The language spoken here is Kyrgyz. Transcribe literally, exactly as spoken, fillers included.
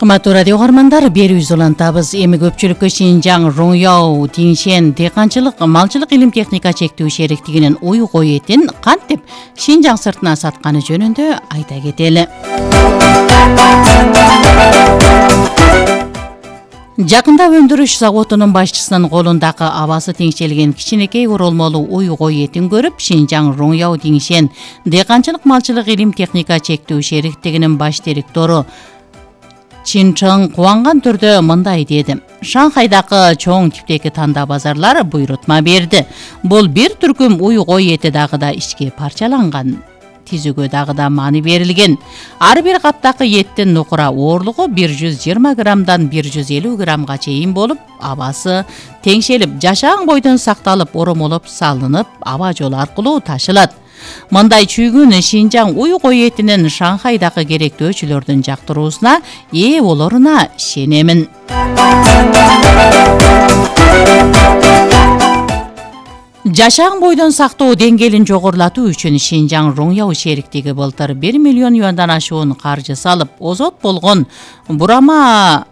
Кымбаттуу радио угармандар, берүүбүз улантабыз. Эми көпчүлүккө Шинжаң Роңяу Тиңшен дыйканчылык малчылык илим техника чектүү шериктигинин уй-кой этин кантип Шинжаң сыртына сатканы жөнүндө айта кетели. Жакында өндүрүш заводунун башчысынын колундагы абасы теңшелген кичинекей оролмолуу уй-кой этин көрүп, Шинжаң Роңяу Тиңшен дыйканчылык малчылык илим техника чектүү шериктигинин баш директору Чин Чың кубанган түрдө мындай деди: Шанхайдагы чоң типтеги танда базарлар буйрутма берди. Бул бир түркүм уй-кой эти дагы да ичке парчаланган. Тизүүгө дагы да маани берилген. Ар бир каптагы эттин нукура оорлугу бир жүз жыйырма граммдан бир жүз элүү граммга чейин болуп, абасы теңшелип, жашаң бойдон сакталып, оромолоп салынып, аба жолу аркылуу ташылат. Мындай чүйгүн Шинжаң уй-кой этинин Шанхайдагы керектөөчүлөрдүн жактыруусуна ээ болоруна ишенемин. Жашаң бойдон сактоо деңгээлин жогорулатуу үчүн Шинжаң Роңяу шериктиги былтыр бир миллион юандан ашуун каржы салып, озот болгон бурама